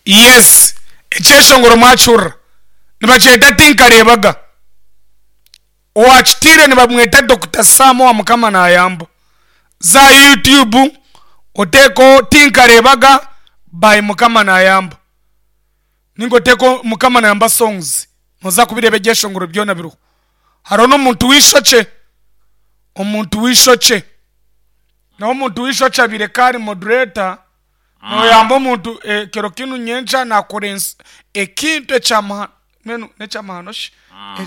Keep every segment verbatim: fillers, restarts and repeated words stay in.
Yes, ekyeshongoro mwakihurira nibakyeta Tinkareebaga. Owakitiire nibamweta Dokita Sam owa Mukama Nayamba. Za aha YouTube oteekeho Tinkareebaga by Mukama Nayamba ninga oteekeho Mukama Nayamba songs nooza kubireeba ebyeshongoro byona biriho. Hariho n'omuntu w'eishokye, omuntu w'eishokye. Nawe omuntu w'eishokye abaire ka ari moderator noyamba omuntu ekiro kinu nyenkya nakora ensi ekintu ekyamahano mbwenu nekyamahano shi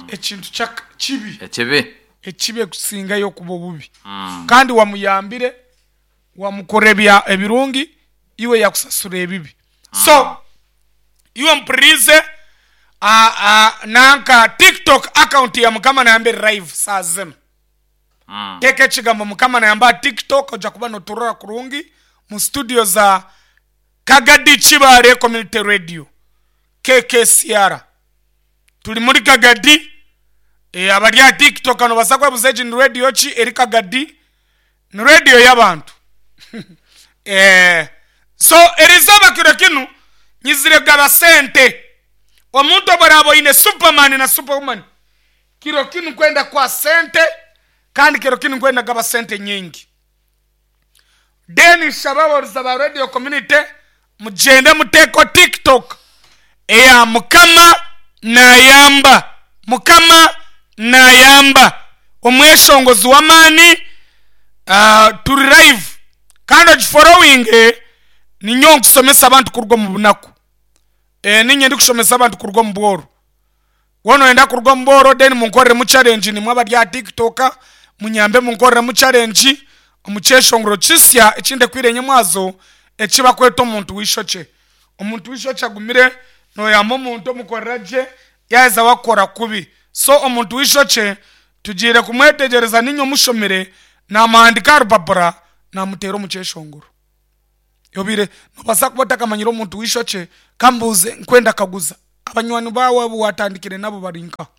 ekintu kibi Ekibi. Ekibi ekusingayo kuba obubi kandi wamuyambire wamukora ebya ebirungi iwe yakusasura ebibi so iwe ompuririize nanka tiktok account ya Mukama Nayamba eri live saaha zinu. Teeka ekigambo Mukama Nayamba aha TikTok oija kuba noturora kurungi mu studio za Kagadi Kibaale Community Radio, K K C R. Turi muri Kagadi, eh, abari aha TikTok nobaasa kwebuza egi ni radio ki eri Kagadi? Ni radio y'abantu. Eh, so erizooba kiro kinu nyizire kugaba sente. Omuntu obu oraaba oine Superman na Superwoman, kiro kinu nkwenda kukuha sente kandi kiro kinu nkwenda kugaba sente nyingi. Then nshaba abahuriza ba Radio Community mugyende muteekeho TikTok eya Mukama Nayamba. Mukama Nayamba omweshongozi w'amaani ah, turi live kandi ogiforowinge. Ninyowe nkusomesa abantu kuruga omu bunaku. Eh, ninye ndikushomesa abantu kuruga omu bworo. Woona oyenda kuruga omu bworo, then munkoreremu challenge. Nimwe abari aha TikTok munyambe munkoreremu challenge omu kyeshongoro kisya ekindekwire nyemwazo eki bakweta omuntu w'eishokye. Omuntu w'eishokye agumire noyamba omuntu omukorera gye yaaheza wakukora kubi. So omuntu w'eishokye tugiire kumwetegyereza ninye omushomire namuhandika aha rupapura namuteera omu kyeshongoro. Obiire nobaasa kuba otakamanyire omuntu w'eishokye. Kambuuze, nkwenda kaguza abanywani baawe abu watandikire nabo bari nkaha?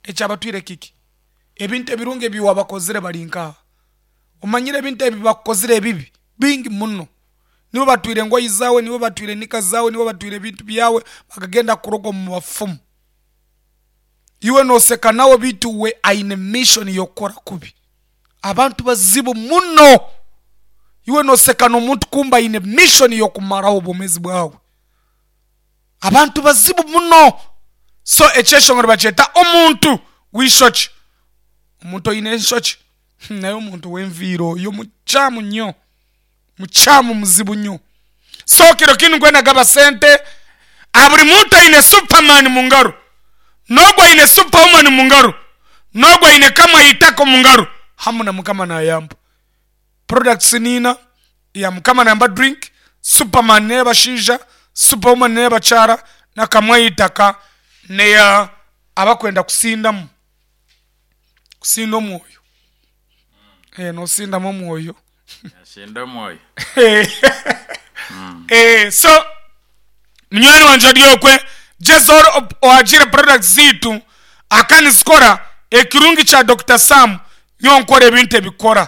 Ekyabatwire kiki? Ebintu ebirungi ebi wabakozire bari nkaha? Omanyire ebintu ebi bakukozire ebibi bingi muno. Nibo batwire engoyi zaawe, nibo batwire nika zaawe, nibo batwire ebintu byawe bakagenda kuroga omu bafumu. Iwe nooseka nawe beitu we aine mission y'okukora kubi. Abantu bazibu muno. Iwe nooseka n'omuntu kumbe aine mission y'okumaraho obwomeezi bwawe. Abantu bazibu muno. So ekyeshongoro nibakyeta omuntu w'eishokye. Omuntu oine eishokye naye omuntu w'enviiri oyo mukyamu nnyo, mukyamu muzibu nnyo. So kiro kinu nkwenda kugaba sente aha buri muntu aine Superman mu ngaro, n'ogwo aine Superwoman mu ngaro, n'ogwo aine kamwe aha omu ngaro hamwe na Mukama Nayamba. Products niina ya Mukama Nayamba drink, Superman n'ey'abashaija, Superwoman n'ey'abakyara, na kamwe aha itaka n'eya abakwenda kusindamu, kusinda omwoyo. Eh, noosindamu omwoyo. Ashinda omwoyo. Eh, so munywani wangye ori okwe gyezaho ohagiire products zaitu aka nizikora. Ekirungi kya Doctor Sam, nyowe nkora ebintu ebikora.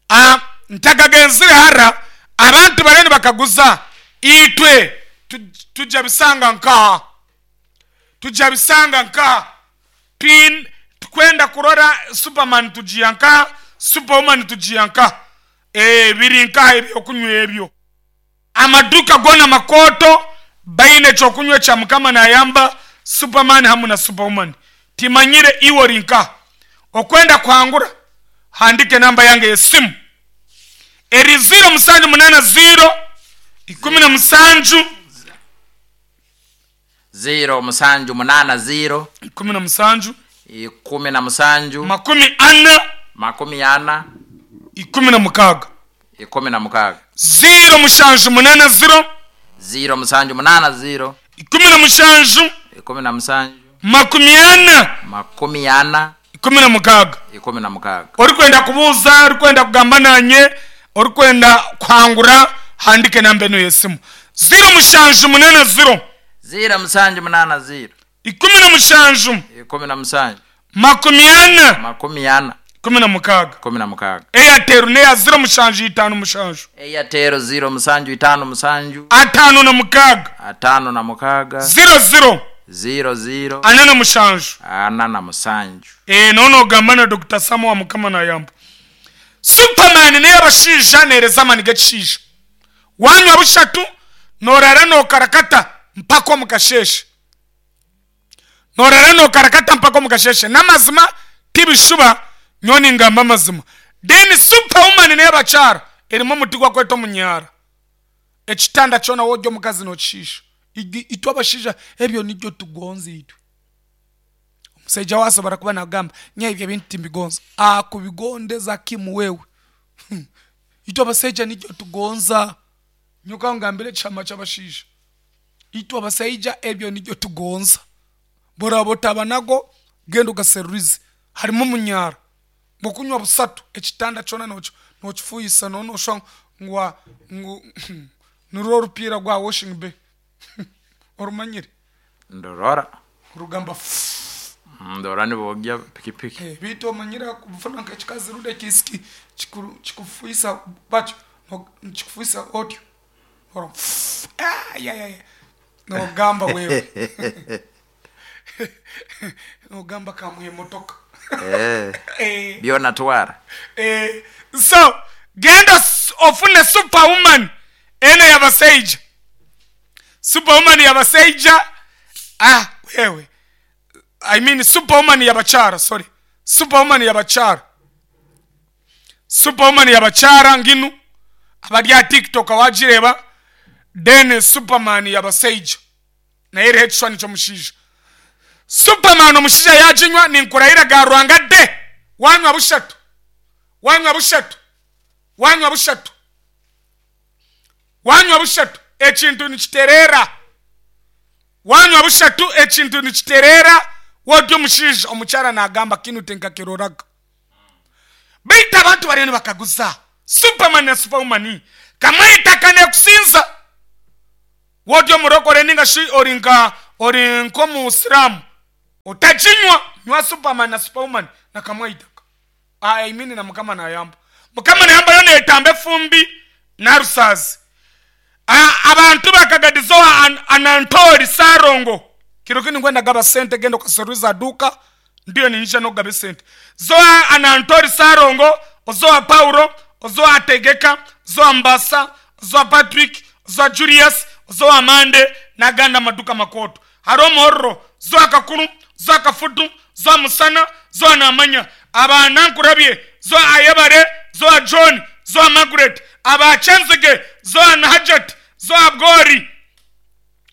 Ah, ntakagenzire hara, abantu bariyo nibakaguza itwe tu- tujja bisanga nkaha, tujja bisanga nkaha? Twin tukwenda kurora Superman tugiya nkaha, Superwoman tugiya nkaha? Eh, biri nkaha ebyokunywa ebyo? Amaduuka goona makooto baine ekyokunywa ekya Mukama Nayamba, Superman hamwe na Superwoman. Timanyire iwe ori nkaha. Okwenda kuhangura, handika enamba yange y'esimu eri ziro musanju munaana ziro ikumi na musanju. Ziro musanju munaana ziro. Ikumi na musanju. Ikumi na musanju. Makumi ana. Makumi ana. Ikumi na mukaaga. Ikumi na mukaaga. Ziro mushanju munaana ziro. Ziro musanju munaana ziro. Ikumi na mushanju. Ikumi na musanju. Makumi ana. Makumi ana. Ikumi na mukaaga. Ikumi na mukaaga. Orikwenda kubuuza, orikwenda kugamba nanye, orikwenda kuhangura, handika enamba enu y'esimu ziro mushanju munaana ziro. Ziro musanju munaana ziro. Ikumi na mushanju. Ikumi na musanju. Makumi ana. Makumi ana. Kumi na mukaaga. Kumi na mukaaga. Airtel neya ziro mushanju itaano mushanju. Airtel ziro musanju itaano musanju. Ataano na mukaaga. Ataano na mukaaga. Ziro ziro. Ziro ziro. Ana na mushanju. Ana na musanju. Eh, nono ogamba na Doctor Samuel Mukama nayamba. Superman niyo abashaija neereza amani g'ekishaija. Wanywa bushatu norara nokarakata mpaka omu kasheeshe. Norara nokarakata mpaka omu kasheeshe. N'amazima tibishuba nyowe ningamba amazima. Then superwoman niyo abakyara erimu omuti gwakweta omunyara. Ekitanda kyona w'orya omukazi nokishiisha. Itwe abashaija ebyo nibyo tugonza itwe. Omushaija wasobora kuba nagamba nya ebyo ebintu timbigonza. Akubigondeza kimu wewe. Itwe abashaija nibyo tugonza. Nyoka ngambire ekihama ky'abashaija. Itwe abashaija ebyo nibyo tugonza. Boraba otaba nago genda ogaserurize. Harimu omunyara. Bw'okunywa busatu ekitanda kyona nokifuuyisa nonoshwa ngu ngu nirwo orupiira rwa washing bay. Orumanyire? Ndorora. Rugamba. Ndorora nibogya pikipiki. Eh, bitu omanyire kufuna nk'ekikazi rundi ekisiki kikufuuyisa batyo kikufuuyisa otyo. Ah, ya ya ya. Nogamba wewe. Nogamba kamuha emotoka. Eh. Eh. Byona twara. Eh, so genda ofune superwoman ene y'abashaija. Superwoman y'abashaija. Ah, wewe. I mean superwoman y'abakyara, sorry. Superwoman y'abakyara. Superwoman y'abakyara nginu abari aha TikTok wagireba. Then Superman y'abashaija. Naye eriho ekishushani ky'omushaija. Superman omushaija yaginywa ninkurahira ga Ruhanga de. Wanywa bushatu. Wanywa bushatu. Wanywa bushatu. Wanywa bushatu ekintu nikiterera. Wanywa bushatu ekintu nikiterera. Wodyo omushaija omukyara nagamba kinu tinkakiroraga. Baitu abantu bariyo nibakaguza. Superman na Superwoman kamwita kanekusinza. Wodyo omurokore ninga shi ori nka ori nk'omusiramu. Utakinywa nywa Superman na Superwoman na kamwaitaka. I mean na Mukama nayamba. Mukama nayamba yo netamba efumbi na rusazi. Abantu bakagadizoa an, anantori sarongo. Kiro kini ngwenda gaba sente genda okaseruza duka ndiyo ninja no gabe sente. Zoa anantori sarongo, ozoa Paulo, ozoa Tegeka, zoa Mbasa, zoa Patrick, zoa Julius, zoa Amande na ganda maduka makoto. Haro morro, zoa Kakuru, zoa Kafutu, zoa Musana, zoa Namanya. Aba nankurabye, zoa Ayebare, zoa John, zoa Margaret, aba Chenzige, zoa Nahajat, zoa Abgori.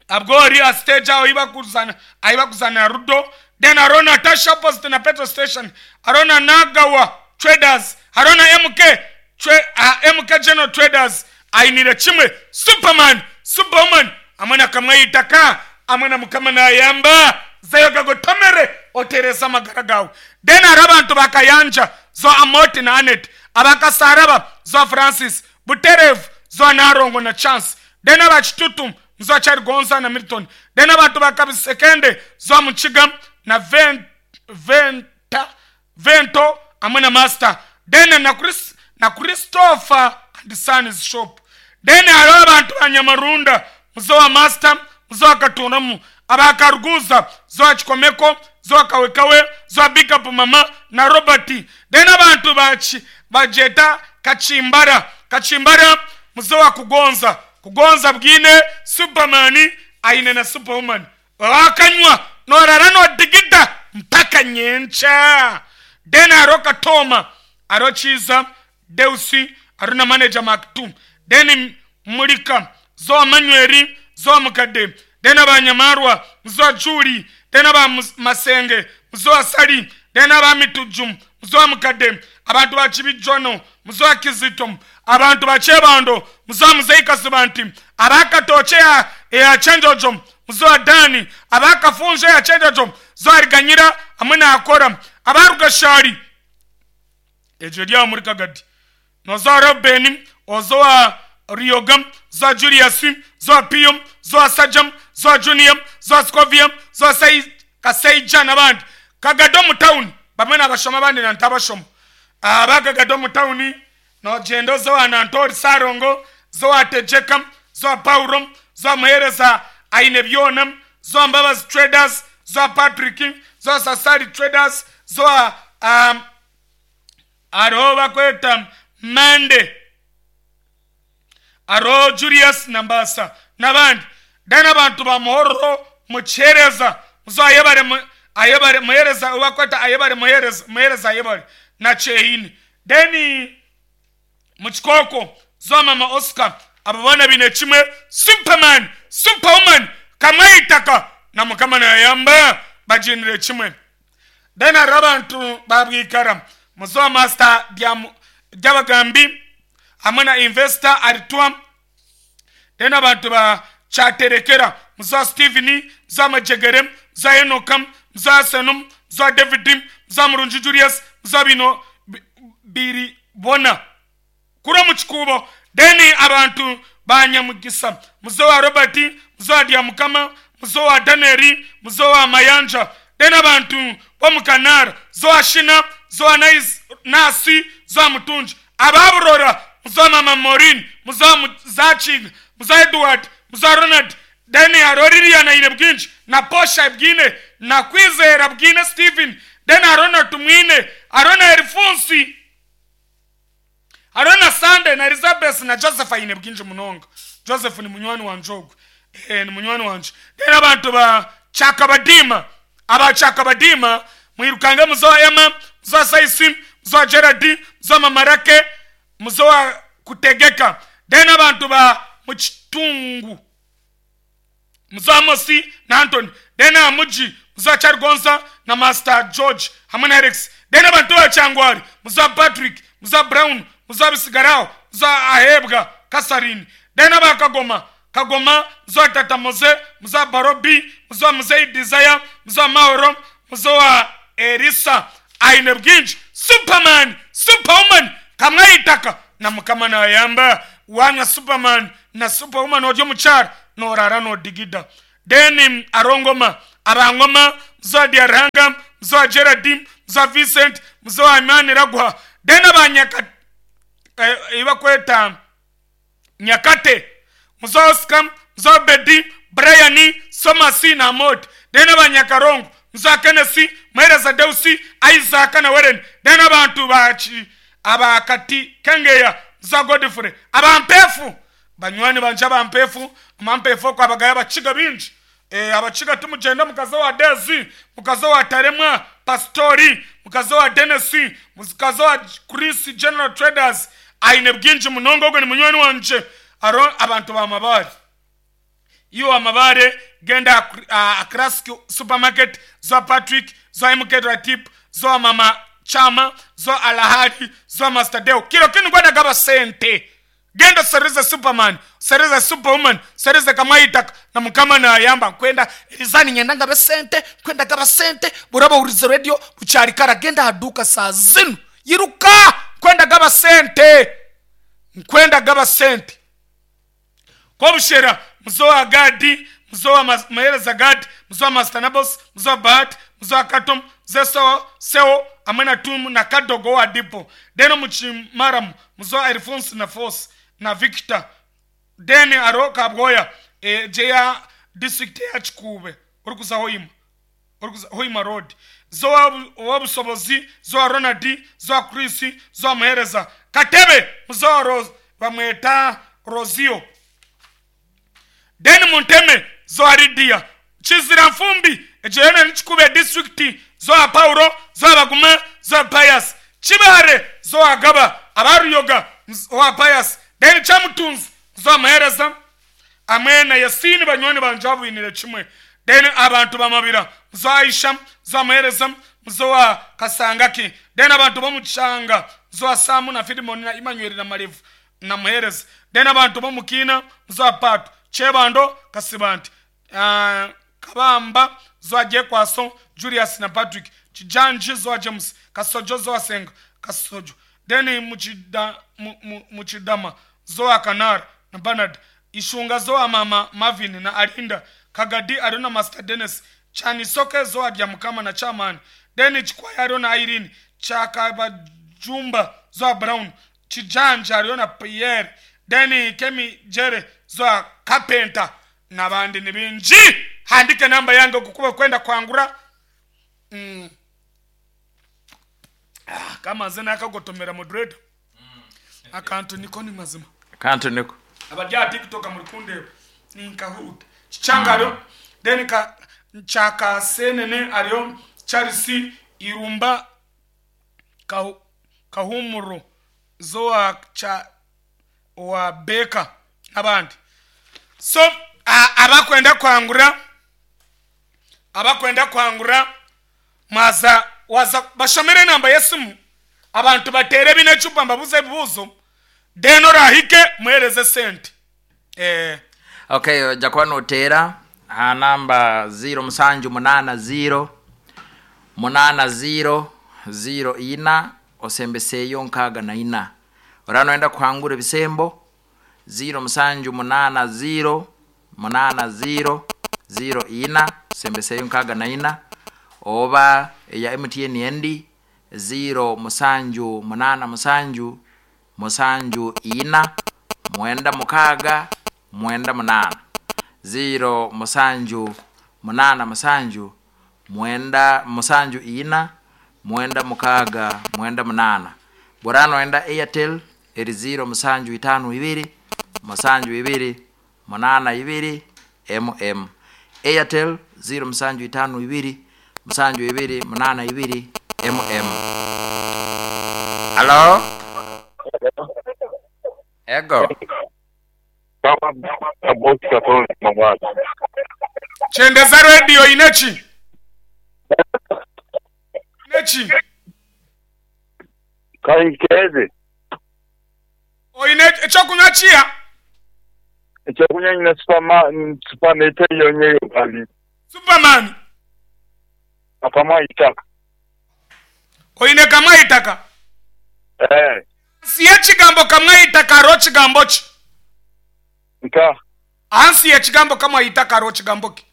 Abgori a stage aho iba kuzana, aiba kuzana Rudo. Then Arona Tasha opposite na petrol station. Arona Nagawa Traders, Arona M K Tra, uh, M K General Traders. Ainire chimwe Superman, Superwoman. Amana kamwaitaka, amana Mukama nayamba. Zayo gagotomere otereza amagara gawe. Then arabantu bakayanja zo Amoti na Anet, abakasaraba zo Francis, Buterev zo Narongo na Chance. Then abachitutu zo Charigonza na Milton. Then abantu bakabisekende zo Muchiga na Vent, Venta, Vento amwe na Master. Then na Chris, na Christopher and Son's shop. Then hariho abantu banyamarunda muzo wa Master, muzo wa Katunamu, abakaruguza zo wa Chikomeko, zo wa Kawekawe, zo wa Big Up Mama na Robert. Then abantu bachi bajeta Kachimbara, Kachimbara muzo wa Kugonza, Kugonza bwine Superman aine na Superwoman. Wakanywa norara no digida mpaka nyencha. Then hariho Katoma, hariho Chiza, Deusi, hariho na manager Mark two. Then Mulika, zo Manueli, zo Mukade. Then abanyamarwa, zo Juri, then aba Masenge, zo Asali, then aba Mitujum, zo Mukade. Abantu ba Chibijono, muzo Kizito, abantu ba Chebando, muzo Muzeika Sibanti, abakatoche ya, ya Chenjojo, muzo Dani, abakafunje ya Chenjojo, zo Ariganyira, amwe na Akora, abarugashari. Ejo rya muri Kagadi. Nozo Robeni, ozo Riogam, zo Julius, zo Piyom, zo Sajam, zo Junior, zo Scovium, zo Sai Kaseija n'abandi. Kagado mu town, bamwe n'abashoma abandi na ntabashoma. Abagagada omu tawuni nogenda oze wa Nantori Sarongo, zowa Tejeka, zowa Paulo, zowa Muhereza aine byona, zowa Mbabazi Traders, zowa Patrick, zowa Sasari Traders, zowa um, hariho bakweta Mande, hariho Julius Nambasa n'abandi. Then abantu ba Muhororo mukihereza muzo ayebare mu- ayebare muhereza bakweta ayebare muhereza muhereza ayebare na Cheini. Then mukikoko zo mama Oscar, abo boona bine kimwe Superman, Superwoman kamwayitaka na Mukama nayamba baginire kimwe. Then hariho abantu babwikara muzo master bya- by'abagambi hamwe na investor Aritwa. Then abantu ba Kyaterekera, muzo Steven, muzo Majegere, muzo Enoka, muzo Asenum, muzo David, muzo Murungi Julius, muzo bino bi- biri bona kuri mu kikubo. Then abantu ba Nyamugisa, muzo wa Robert, muzo wa Diamukama, muzo wa Danieli, muzo wa Mayanja. Then abantu bo mu Kanara, zo wa Shina, zo wa Nais- nasi, zo wa Mutunji, ababurora, muzo wa mama Morin, muzo wa Zachiga, muzo wa Edward, muzo wa Ronald. Then hariho Lilian aine bwingi na Posha bwine na Kwizera bwine Steven. Then hariho na Tumwine, hariho na Erifunsi, hariho na Sande na Elizabeth na Joseph aine bwingi munonga. Joseph ni munywani wanje ogwe, eh, ni munywani wanje. Then abantu ba Chakabadima, aba Chakabadima mwirukanga, muzo wa Emma, muzo wa Saisi, muzo wa Gerard, muzo wa Mamarake, muzo wa Kutegeka. Then abantu ba Muchitungu, muzo wa Mosi na Antony. Then amuji muzo wa Chargonza na Master George hamwe na Alex. Then abantu ba Changwari, muzo wa Patrick, muzo wa Brown, muzo wa Bisigarao, muzo wa Ahebwa Kasarini. Then aba Kagoma, Kagoma, muzo wa Tata Moze, muzo wa Barobi, muzo wa Muzei Desire, muzo wa Mahoro, muzo wa Erisa aine bwingi Superman, Superwoman kamwayitaka na Mukama nayamba wanywa Superman na Superwoman oryo mukyaro norara nodigida. Then arongoma abangoma, muzo wa Diaranga, muzo wa Gerard, muzo wa Vincent, muzo wa Imani Ragwa. Then abanyaka eh, ibakweta Nyakate, muzo wa Oscar, muzo wa Bedi, Brian Somasi na Mod. Then abanyakarongo, muzo wa Kennesi, Muhereza Deusi, Isaac na Weren. Then abantu bachi abakati Kengeya, muzo wa Godfrey, abampefu, banywani banje abampefu, amampefu okwo abagaya abakiga bingi. Eh, abakiga tumugenda mukazi wa Dezi, mukazi wa Taremwa Pastori, mukazi wa Denesi, mukazi wa Chris General Traders aine bwingi munonga, ogwo ni munywani wanje. Aro abantu bamabare, iyo amabare genda uh, Classic Supermarket, zo Patrick, zo M K Ratip, zo mama Chama, zo Alahari, zo Master Deo kilo kinu gwada gaba sente. Genda serize Superman, serize Superwoman, serize kamaitaka na Mukama na yamba kwenda rizani nyenda ngabe sente kwenda gaba sente buraba urize radio bucyari kara. Genda haduka saa zino, yiruka kwenda gaba sente, nkwenda gaba sente. Kobushera, muzo wa Gadi, muzo wa Mas- Mahereza Gadi, muzo wa Mastanabos, muzo wa Bahat, muzo wa Katom, Zeso Seo hamwe na Tumu na Kadogo wa Dipo. Deno Muchimaram, muzo wa Alphonse na Force na Victor. Then aro Kabgoya, e, jeya district ya Chikube uri kuza Hoima, uri kuza Hoima Road, zo wa Busobozi, zo wa Ronald, zo wa Chris, zo wa Muhereza Katebe, muzo wa Rose bamweta Rozio. Then Munteme, zo Aridia Chizira Mfumbi, ejeyona nichikube district, zo Paulo, zo Baguma, zo Pius Chibare, zo Agaba Abaruyoga wa Pius. Then Chamutunzi, zo Mahereza amwe na Yasini, banywani banje abwinire kimwe. Then abantu bamabira, zo Aisha, zo Mahereza, zo wa Kasangaki. Then abantu bomuchanga, zo wa Samu na Filimoni na Emmanuel na Malevu na Muhereza. Then abantu bomukina, zo wa Patu Chebando Kasibanti, uh, Kabamba, zo Jekwaso Julius na Patrick Chijanji, zo James Kasojo, zo Senga Kasojo. Then muchida, mu, mu, Muchidama, zo Kanar na Bernard Ishunga, zo mama Marvin na Alinda Kagadi, Arona Master Dennis Chanisoke, zo Mukama na Chairman. Then Chikwaya, Arona Irene Chakaba. Jumba Zoa Brown Kijanja hariyo na Pierre then Kemi Jere Zoa Carpenter n'abandi ni bingi. Handike namba yange kukuba kwenda kwangura mm. Ah, kama nze nakagotomera moderator akantu niko ni mazima. Kantu niko. Abarya TikTok muri kundeba ninkahuta chichangaro mm. Then ka nchaka senene ariyo Charles Irumba kahu, kahumuro Zoa cha wa Baker n'abandi. So abakwenda kwangura abakwenda kwangura maza waza bashomere namba yesimu abantu batere bine chupa mbabuze ebibuzo then orahike muhereze sente. Eh okay, ojja kuba noteera ha namba zero musanju munana zero munana zero zero ina osembeseyo nkaaga na ina. Ora noenda kuhangura ebisembo zero musanju munana zero munana zero zero ina osembeseyo nkaaga na ina, oba eya M T N endi zero musanju munana musanju musanju ina mwenda mukaaga mwenda munana zero musanju munana musanju mwenda musanju ina mwenda mukaaga mwenda munana. Borano enda Airtel eri zero musanju itano ibiri musanju ibiri munana ibiri M M. Airtel zero musanju itano ibiri musanju ibiri munana ibiri M M. Hello? Ego. Chendeza radio inechi. Inechi. Kaikeze. O inechi echokunywa chia. Echokunywa ina superman superman yonye yokali. Superman. Akama itaka. O ine kama itaka. Eh. Siye chigambo kama itaka ro chigambo chi. Nka. Ansi ye chigambo kama itaka ro chigambo ki.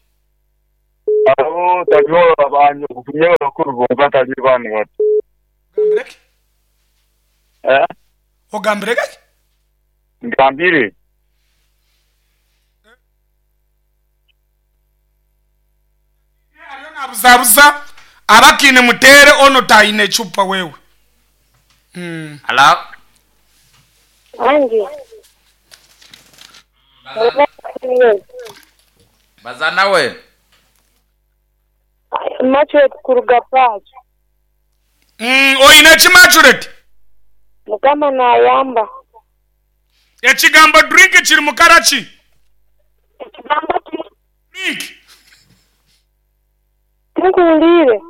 Abo tanyola abanyo kunyola kurubonga tali bana watu. Gambreki? Eh? O gambreki? Ngambire. Ariyo nabuzabuza abakine mutere ono taine chupa wewe. Mm. Hello? Angi. Bazana we. Machuret kuruga pacho. Mm, oine chi machuret? Mukama na yamba. Echigambo drink chiri mukarachi. Echigambo drink. Nkuulire.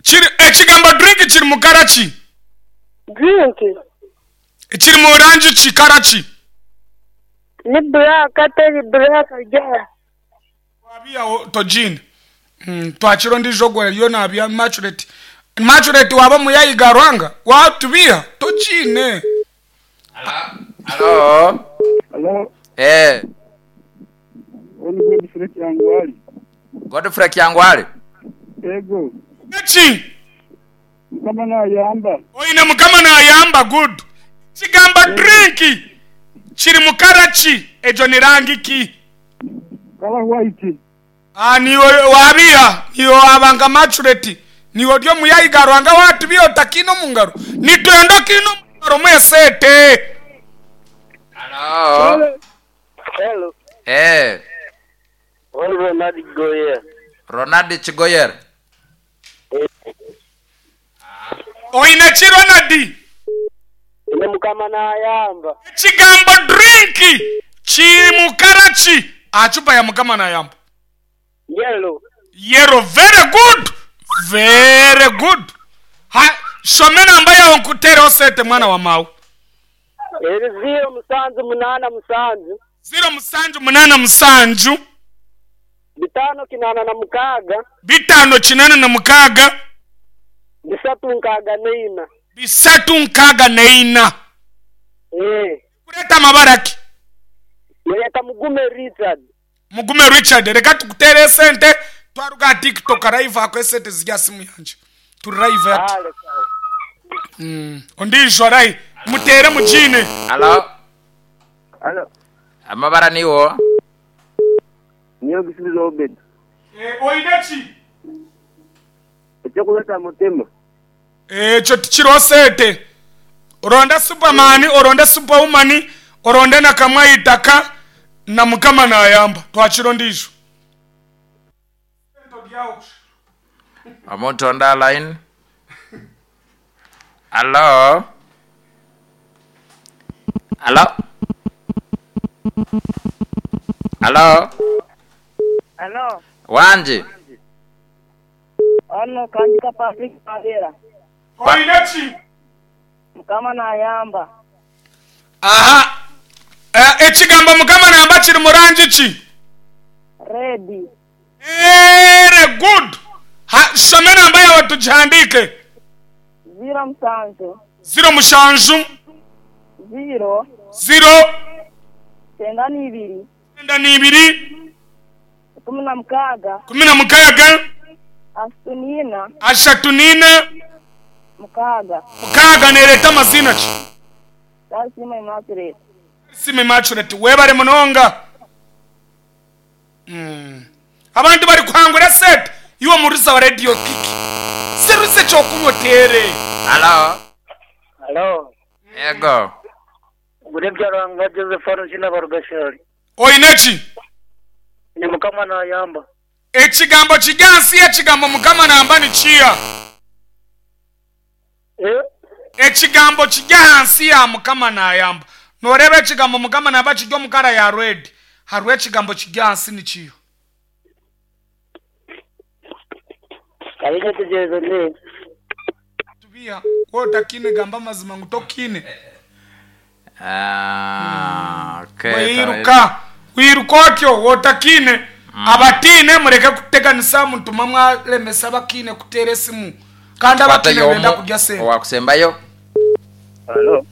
Chiri echigambo drink chiri mukarachi. Drink. Chiri mu orange chikarachi. Ni black ateri black ja. Wabia tojini. Mm, twachiro ndijogwa yo nabya machuret. Machuret waba muyayiga rwanga watubia tojine. Hello. Hello. Eh. Oni Godfrey Kyangwali. Godfrey Kyangwali. Ego. Echi. Mukama na yamba. Oine mukama na yamba good. Chigamba drink. Chiri mukarachi ejo ni rangi ki. Kala white. Ah niyo wabia niyo abanga maturity niyo ryo muyayiga rwanga watubia otakino mungaro nitwenda kino mungaro mwesete. Hello. Hello. Eh. Oni Ronald Goyer. Ronald Chigoyer. Oine chi Ronald? Ine mukama na yamba. Chigambo drink chimukarachi achupa ya mukama na yamba. Yellow. Yellow, very good. Very good. Ha shomena ambaye onkutere osete mwana wa mau. Eri zero musanju munana musanju. Zero musanju munana musanju. Bitano kinana na mukaga. Bitano kinana na mukaga. Bisatu nkaga neina. Bisatu nkaga neina. Eh. Kuleta mabaraki. Leta Mugume Richard. Mugume Richard reka tukutere sente twaruga TikTok live akwe sente zijya simu yanje. Tu live at. Mm. Ondiijo arahi muteere mugiine. Alo. Alo. Amabara niwo. Niyo gisubizo Obed. Oine ki? Ekyokuleta mutima. Ekyo tikiriho sente. Oronde Superman, oronde Superwoman, oronde na kamwe itaka na Mukama nayamba. Twakira ondiijo. Omuntu on the line. Alo. Alo. Alo. Alo. Wanje. Ono kandika Patrick Pavera. Oine ki? Mukama nayamba. Aha. Eh, ekigambo Mukama nayamba kiri mu rangi ki? Ready. Very good. Ha, shome namba yawe tugihandike. Zero musanju. Zero mushanju. Zero. Zero. Kyenda n'ibiri. Kyenda n'ibiri. Kumi na mukaaga. Kumi na mukaaga. Ashatu n'ina. Ashatu n'ina. Mukaaga. Mukaaga nereeta amazina ki? Sima Immaculate. Sima Immaculate. Webare munonga. Mm. Abantu bari kuhangura set. Iwe murusa wa radio kiki. Seruse kyokunywa tere. Alo. Alo. Ego. Gurebya Rwanga Joseph Arunjina Barugashari. Oine ki? Ni Mukama nayamba. Ekigambo kigansi ekigambo Mukama nayamba ni kiya. Eh? Ekigambo kigansi ya Mukama nayamba. Noreba ekigambo Mukama nayamba kijya omukara ya red. Hariho ekigambo kigansi ni kiyo. Kalinga tujezo ne. Tubiha wotakine gamba amazima ngu tokine. Ah, okay. Wiruka. Wiruka otyo wotakine. Abatine mureke kuteganisa mutuma mwalemesa abakine kuteera esimu. Kandi abatine benda kurya sente. Owakusembayo. Alo.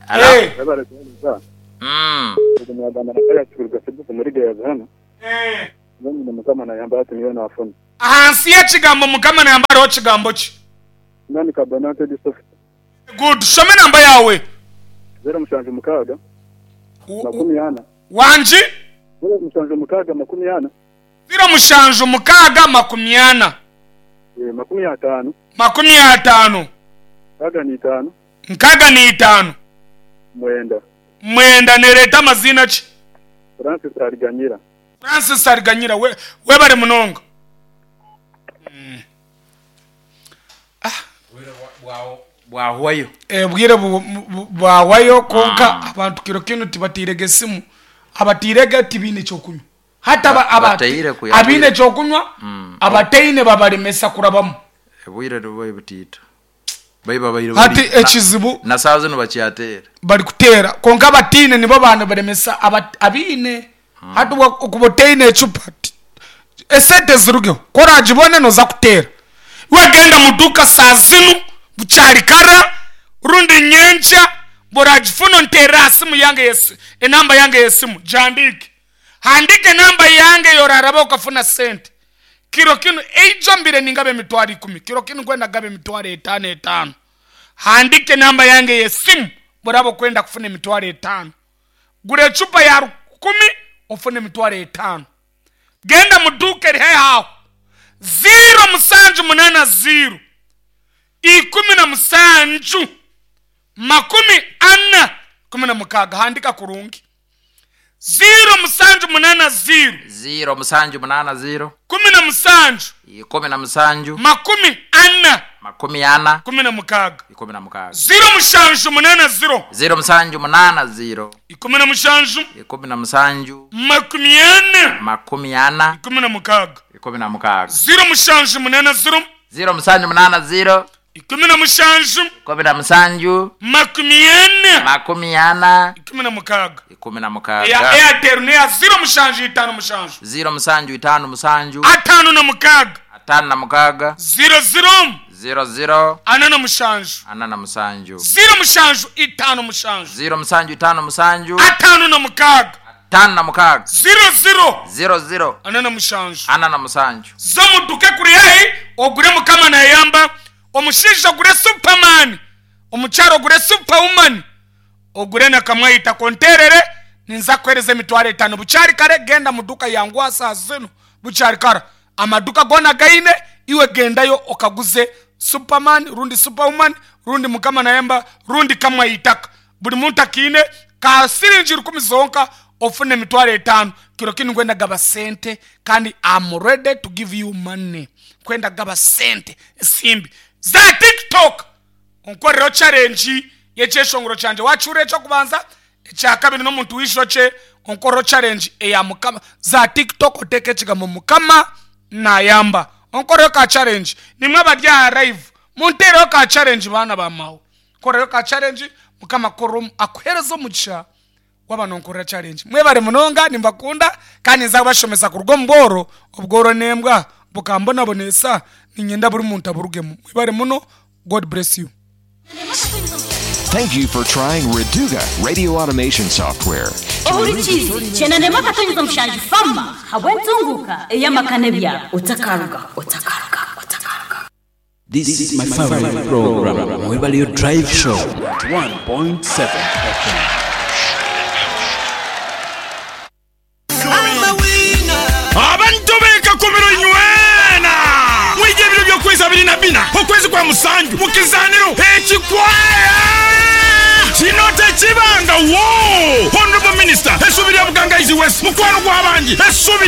Alo. Hey. Webare kuhaniza. Mm. Ndimwagamba nakaya kikuruga sebuku muri Gayaza hano. Eh. Nani Mukama nayamba ati niyo nafuna. Ahansi y'ekigambo Mukama nayamba hariho kigambo ki? Nani kabonante di soft. Good. Shome namba yawe. Zero mushanju mukaaga. Makumi ana. Wanji? Zero mushanju mukaaga makumi ana. Zero mushanju mukaaga makumi ana. Eh, makumi atano. Makumi atano. Nkaga ni itano. Nkaga ni itano. Mwenda. Mwenda nereta amazina ki? Francis Ariganyira. Francis Ariganyira we webare munonga. Mm. Ah, Bwahwayo. Eh, bwire bwawayo konka abantu kiro kino tibatirege esimu. Abatirege tibine kyokunywa. Hata aba abine kyokunywa abateine babalemesa kurabamu. Bwire rubaye butito. Baiba bairo. Hati ekizibu na sawa zino bakyatera. Bari kutera konka abatine nibo bantu balemesa abine. Hati okuboteine ecupa. Esente zirugeho koragibone noza kutera. Wagenda muduka saa zinu bukyari kara rundi nyenkya boragifuna ntera asimu yange yesi enamba yange yesimu jandike. Handike enamba yange yoraraba okafuna sente. Kiro kinu eijo mbire ningabe emitwaro ikumi. Kiro kinu kwenda gabe emitwaro etaano etaano. Handike enamba yange yesimu boraba okwenda kufuna emitwaro etaano. Gura ecupa ya rukumi ofune emitwaro etaano. Genda muduka eri haihi aho. Zero musanju munana zero. Ikumi na musanju. Makumi ana. Kumi na mukaaga. Handika kurungi. Zero musanju munana zero. Zero musanju munana zero. Kumi na musanju. Ikumi na musanju. Makumi ana. Makumi ana. Kumi na mukaaga. Ikumi na mukaaga. Zero mushanju munana zero. Zero musanju munana zero. Ikumi na mushanju. Ikumi na musanju. Makumi ana. Makumi ana. Ikumi na mukaaga. Ikumi na mukaaga. Zero mushanju munana zero. Zero musanju munana zero. Ikumi na mushanju. Ikumi na musanju. Makumi ana. Makumi ana. Ikumi na mukaaga. Ikumi na mukaaga. Ya Airtel ne ya zero mushanju itano mushanju. Zero musanju itano musanju. Atano na mukaaga. Atano na mukaaga. Zero zero. Zero zero. Ana na mushanju. Ana na musanju. Zero mushanju itano mushanju. Zero musanju itano musanju. Atano na mukaaga. Atano na mukaaga. Zero zero. Zero zero. Ana na mushanju. Ana na musanju. Zo muduke kuri haihi ogure Mukama nayamba. Omushaija ogure Superman. Omukyaro ogure Superwoman, ogure na Kamwayita konterere, ninza kuhereza emitwaro etaano. Bukyari kare, genda muduka yanguha saa zinu, bukyari kara. Amaduka goona gaine, iwe gendayo okaguze Superman rundi Superwoman rundi Mukama Nayamba rundi Kamwayitaka. Buri muntu akiine ka siringi rukumi zonka ofune emitwaro etaano. Kiro kinu nkwenda gaba sente kandi I'm ready to give you money. Nkwenda gaba sente esimbi za TikTok. Onkorereho challenge y'ekyeshongoro kyangye. Waakihurira eky'okubanza, ekya kabiri n'omuntu w'eishokye, onkorereho challenge eya Mukama. Za TikTok oteeke ekigambo Mukama Nayamba. Onkorereho ka challenge. Nimwe abari aha live, munteereho ka challenge baana ba maawe. Nkorereho ka challenge, Mukama akukore akuheereze omugisha waaba nonkorera challenge. Mwebare munonga, nimbakunda kandi ninza kubashomesa kuruga omu bworo. Obworo n'embwa bukambonabonesa, niinyenda buri muntu aburugemu. Mwebare muno, God bless you. Thank you for trying Reduga radio automation software. Ohurikize kyenda akatonyeza mushanju fama habw'entunguka ey'amaka n'ebyaro otakaruga otakaruga otakaruga. This is my favorite program, Mwebalio Drive Show, one point seven F M. Abantu bekakomero nywena mwije ebiro by'okwezi abiri na bina okwezi kwa musanju mu kizaniro ekikwaya kino tekibanga wo. Honorable Minister, essuubi lya Bugangaizi West, mukwano gw'abangi, essuubi lya